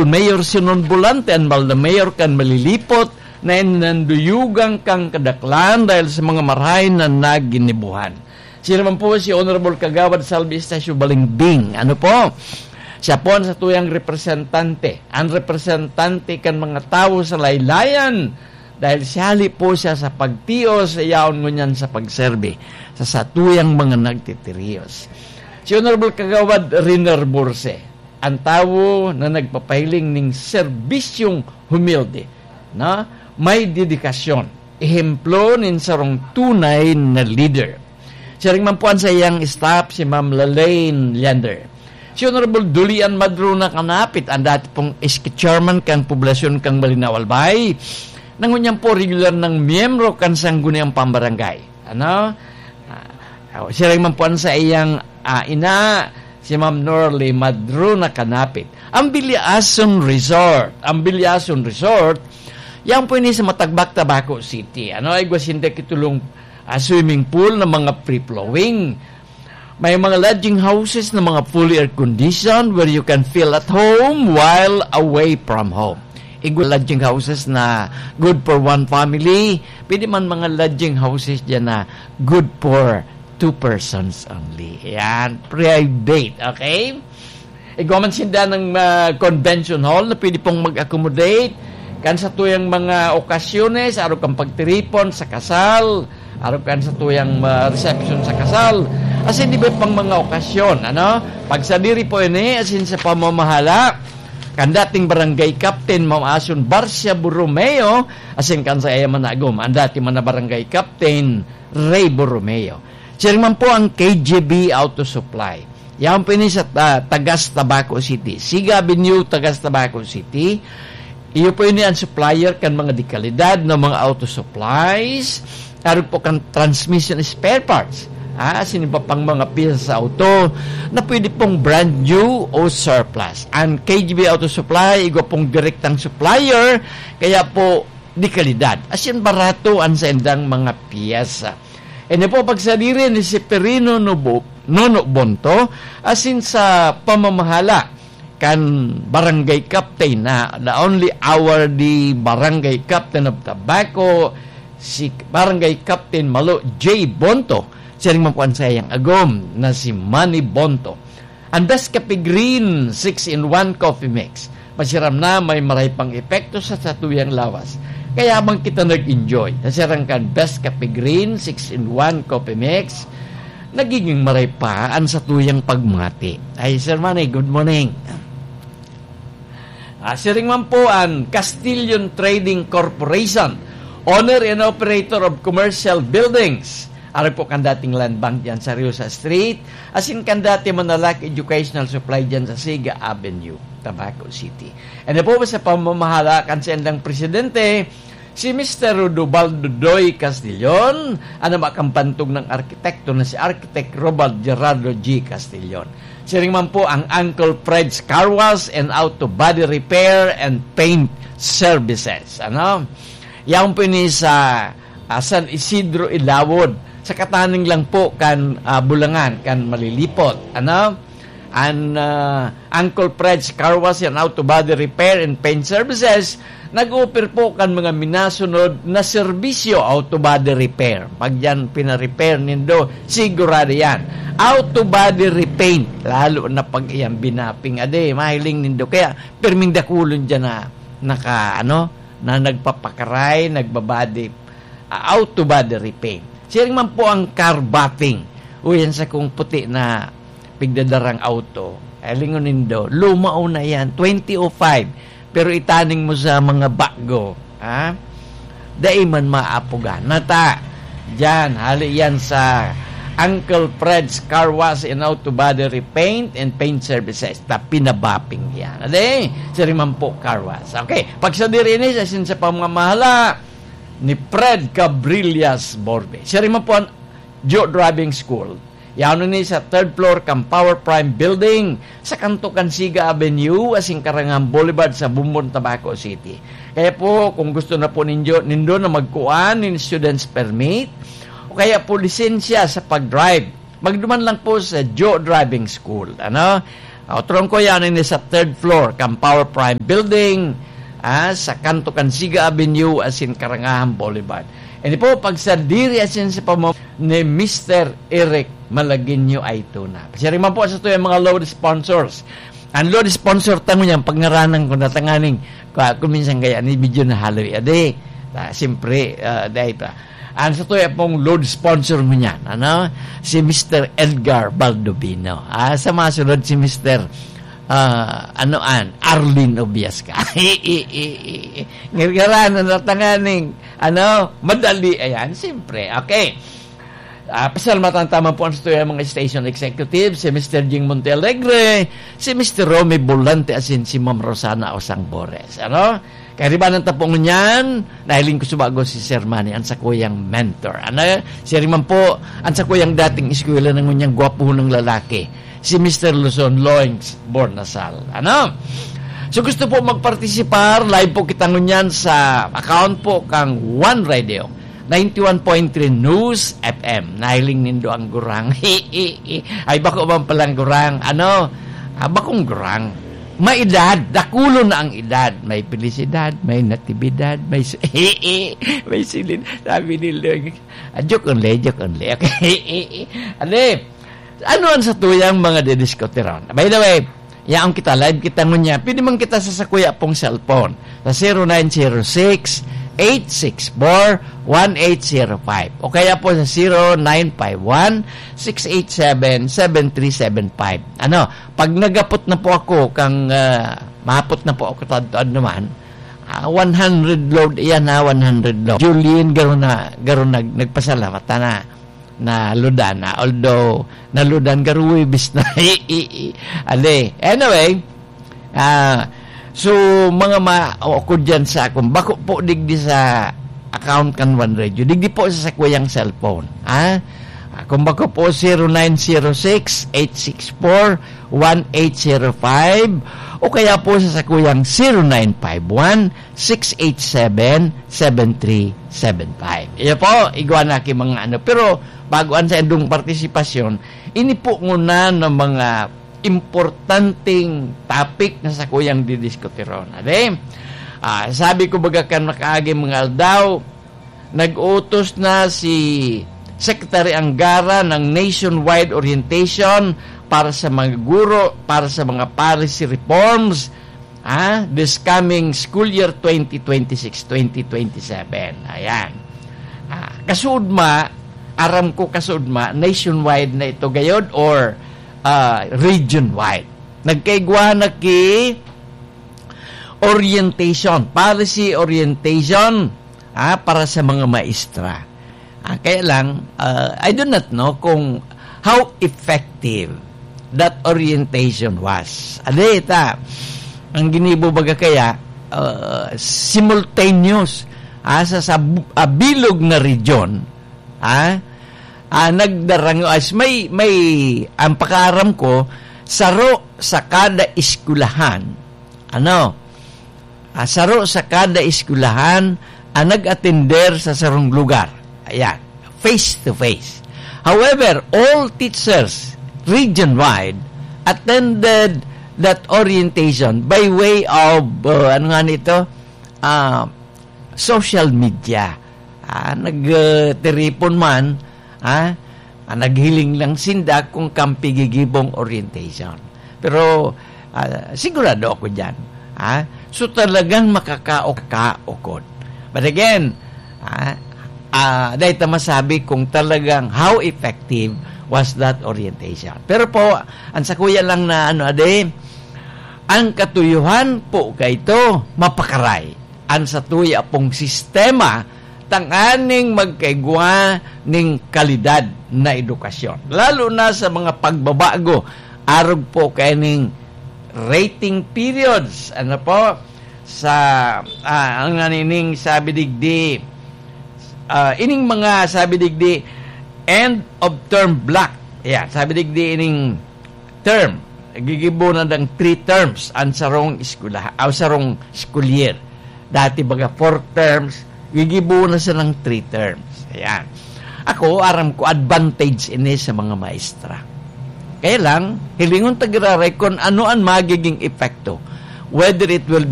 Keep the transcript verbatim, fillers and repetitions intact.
Mayor Sinon Volante, an Mal na Mayor kan Malilipot, na nanduyugan kan kadaklan dahil sa mga marahay na naginibuhan. Siya naman po si Honorable Kagawad Salvi Estacio Balingbing. Ano po? Siya po ang satuyang representante. Ang representante kan mga tawo sa laylayan. Dahil sihali po siya sa pagtios, yaon ngunyan sa pagserbi sa satuyang mga nagtitiriyos. Si Honorable Kagawad Riner Burse, ang tawo na nagpapahiling ning serbisyong humilde, na may dedikasyon, ehemplo nin sarong tunay na leader. Siring man po an saiyang staff, si Ma'am Lalaine Leander. Si Honorable Dulian Madrona Kanapit, ang dati pong S K chairman kan poblasyon kan Malinao, Albay, na ngunyan po regular nang miyembro kan Sangguniang Pambarangay. Ano? Ah, siring man po an saiyang, ah, ina, si Ma'am Norly Madrona Kanapit. Ang Biliason Resort. Ang Biliason Resort, yan po ini sa Matagbak, Tabaco City. Ano, igwa sinda kitulong, ah, swimming pool na mga free-flowing. May mga lodging houses na mga fully air-conditioned where you can feel at home while away from home. Igwa lodging houses na good for one family. Pwede man mga lodging houses dyan na good for two persons only. Yan, private, okay? Igwa man sinda ng, ah, convention hall na pwede pong mag-accommodate kan satuyang mga okasyones, arog kan pagtiripon sa kasal, arog kan satuyang, ah, reception sa kasal, asin iba pang mga okasyon, ano? Pagsadiri po ini, asin sa pamamahala kan dating barangay captain, Ma'am Asun Barcia Borromeo, asin kan sa iya managom, ang dati man na barangay captain, Ray Borromeo. Siring man po ang K G B Auto Supply. Yan po ini sa, ah, Tagas, Tabaco City. Siga Avenue, Tagas, Tabaco City. Iyo po ini ang supplier kan mga dekalidad na mga auto supplies. Arog po kan transmission spare parts. Ah, asin iba pang mga piyesa sa auto na pwede pong brand new o surplus. Ang K G B Auto Supply, igwa pong direktang supplier, kaya po dekalidad. Asin barato ang saindang mga piyesa. Ini po pagsadiri ni Seferino Nobo-, Nono Bonto, asin sa pamamahala kan barangay captain na the only awardee barangay captain of Tabaco, si Barangay Captain Malo J Bonto, siring man po an saiyang agom na si Manny Bonto. Ang Best Cafe Green six-in-one Coffee Mix. Masiram na, may maray pang epekto sa satuyang lawas. Kaya habang kita nag-enjoy sa sirang kan Best Cafe Green six-in-one Coffee Mix, nagiging maray pa ang satuyang pagmati. Ay, Sir Manny, good morning. Ah, siring man po ang Castillion Trading Corporation, owner and operator of commercial buildings. Ari po kan dating Land Bank dyan sa Riosa Street, asin kan dati Manalak Educational Supply dyan sa Siga Avenue, Tabaco City. And po sa pamamahala kan saindang presidente, si Mister Rodobaldo Doy Castillon, an ama kan bantog na arkitekto na si Architect Robald Gerardo G Castillon. Siring man po ang Uncle Fred's Car Wash and Auto Body Repair and Paint Services. Ano? Yaon po ini sa, ah, San Isidro, Ilawod. Sa kataning lang po kan, ah, Bulangan, kan Malilipot. Ano? An, ah, Uncle Fred's Car Wash and Auto Body Repair and Paint Services, nag-offer po kan mga minasunod na serbisyo, auto body repair. Pag yan pina-repair nindo, sigurado yan. Auto body repaint, lalo na pag iyan binaping, ade, mahiling nindo. Kaya, pirming dakulon dyan na naka, ano, na nagpapakaray, nagbabody, ah, auto body repaint. Siring man po ang car batting. O yan sa kung puti na pigdadarang auto. Ay, lingon nindo, lumao na yan, twenty oh five. Pero itaning mo sa mga bago, ha? Dai man maapugan. Nata, dyan, hali yan sa Uncle Fred's Car Wash and Auto Body Repaint and Paint Services. Ta pinabaping yan. Ade, siring man po Car Wash. Okay, pagsadiri ini, sa sin sa pamamahala ni Fred Cabrillas Borbe. Siring man po ang Joe Driving School. Yaon ini sa third floor kan Power Prime Building, sa kanto kan Siga Avenue, asin Karangahan Boulevard sa Bombon, Tabaco City. Kaya po, kung gusto na po ninyo, nindo na magkuan nin student's permit, o kaya po lisensya sa pag-drive, magduman lang po sa Joe Driving School. Ano? Otro ko yan, ini sa third floor kan Power Prime Building, ah, sa kanto kan Siga Avenue asin Karangahan Boulevard. Ini po, pagsadiri asin sa pamo ni Mister Eric Malagueño Aytuna. Siring man po sa tuyang mga load sponsors. Ang load sponsor ta ngunyan, pagngaranan ko na tanganing, ka-, kung minsan kaya, ni medyo nahaloy, ade. Ta, siyempre, ah, dahil pa. Ang sa tuya pong load sponsor ngunyan, ano? Si Mister Edgar Baldovino. Ah, sa masunod si Mister, ah, ano an, Arlene Obiasca. Ngirgaranan na tanganing, ano, madali, ayan, siyempre. Okay. Ah, pasalamatan ta man po ang sa tuya mga station executive, si Mister Jing Montealegre, si Mister Romy Volante, asin si Ma'am Rosana Osang Bores. Ano? Karibanan ta po ngunyan, nahiling ko sa bago si Sir Manny, ang sakuyang mentor. Ano? Siya rin man po, ang sakuyang dating eskwela na ngunyan gwapuhon ng lalaki, si Mister Luzon Loings Bornasal. Ano? So gusto po magpartisipar, live po kita ngunyan sa account po kang One Radio, ninety-one point three News F M. Nahiling nindo ang gurang. Ay, bako man palang gurang. Ano? Ah, bakong gurang. May edad, dakulo na ang edad. May felisidad, may natibidad, may si-, may silid. Sabi ni Lord, ah, joke only, joke only. Okay. Ano? Ano ang sa tuyang mga didiskuteron? By the way, yaon kita, live kita ngunyan. Pwede man kita sa sakuya pong cellphone. Sa zero nine zero six, eight six four, one eight zero five. O kaya po sa zero nine five one, six eight seven, seven three seven five. Ano, pag nagapot na po ako, kang, ah, mahapot na po ako, tadtad naman, ah, one hundred load iyan, ha, one hundred load. Julian, garo na, garo nag-, nagpasalamat, tana, na ludan na. Although, naludan, garo Huwebes na. Ale, anyway, ah, so, mga ma-, o ako dyan sa akong, bako po digdi sa account kan One Radio. Digdi po sa sakuyang cellphone. Ha? Ah, kung bako po, zero nine zero six, eight six four, one eight zero five, o kaya po sa sakuyang zero nine five one, six eight seven, seven three seven five. Iyo po, igwa na ki mga ano. Pero, bago an sa indong partisipasyon, ini po nguna ng mga importanteng topic na sakuyang didiskuteron. Ade? Ah, sabi ko baga kan nakaagi mga aldaw, nag-utos na si Secretary Angara ng nationwide orientation para sa mga guro, para sa mga policy reforms, ah, this coming school year twenty twenty-six, twenty twenty-seven. Ayan. Ah, kasuodma, aram ko kasuodma, nationwide na ito gayod or, ah, region-wide. Nagkaigwa na ki orientation, policy orientation, ah, para sa mga maestra. Ah, kaya lang, ah, I do not know kung how effective that orientation was. Ade, ta, ang ginibo baga kaya, ah, simultaneous, ah, sa, sa bu-, ah, bilog na region, ah, ah, nagdarang-, as may, may, ang pakaaram ko, saro sa kada eskwelahan, ano, ah, saro sa kada eskwelahan ang nag-atender sa sarong lugar. Ayan, face to face. However, all teachers region-wide attended that orientation by way of, uh, ano nga nito, ah, social media. Ah, nag, uh, tiripon man, ah, ah, naghiling lang sinda kung kampi gigibong orientation. Pero, ah, sigurado ako dyan. Ah, so talagang makakaok-kaokod. But again, ah, ah, dahil ta masabi kung talagang how effective was that orientation. Pero po, ang sakuya lang na ano, ade, ang katuyuhan po kaito, mapakaray. An satuya pong sistema tanganing magkaigwa ning kalidad na edukasyon, lalo na sa mga pagbabago arog po kaining rating periods, ano po, sa, ah, ang nanining sabi digdi, ah, ining mga sabi digdi, end of term block. Yan, sabi digdi ining term. Gigibo na dang three terms ang sarong eskwela, aw, sarong school year. Dati baga four terms, gigibo na silang three terms. Ayan. Ako, aram ko, advantage ini sa mga maestra. Kaya lang, hilingon ta giraray kung ano an magiging epekto. Whether it will